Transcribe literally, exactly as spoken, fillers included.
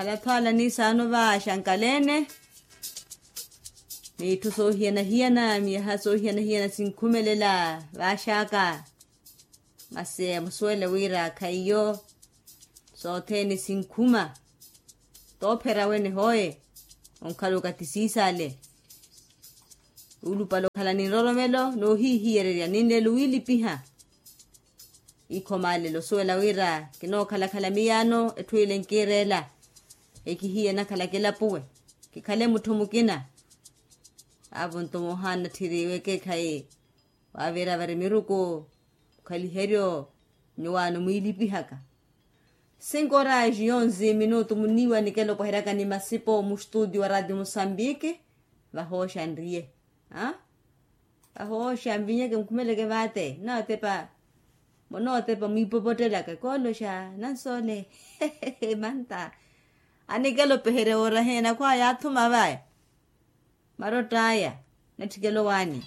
Alathwala ni saano vaaxankalene. Miitthu soohiyana-hiyana miyaha soohiyana-hiyana sinkhumelela vaaxaka. Masi musuwele wira khaiyo. Sothene sinkhuma. Toophera wene hooye. Onkhala okatisiisale. Ulupale okhala ni nroromelo noohiihiyererya ninleelo wiilipiha. Ikho maalelo osuwela wira kinookhalakhala miyaano etthu ile nkiireela. Ekihiye nakhala kilapuwe. Kikhale mutthu mukina. Aavo nto moohaana tthiriwe ekeekhayi. Waavira vari miruku mukhaliheryo. Nyuwaano mwiilipihaka. Sinkoraji yonzi minutu muniiwa nikela opweheryaka ni masipo mustutio wa ratio musambiki. Vahooxa nriye. Ahooxa nvinyeke nkhumeleke vaate nnootepa. Munootepa mwiipopottelaka kooloxa nansoole. Manta. Anikela opeherya wooraheena khwaya athuma vaya. Marott'aya. Natthikela owaani.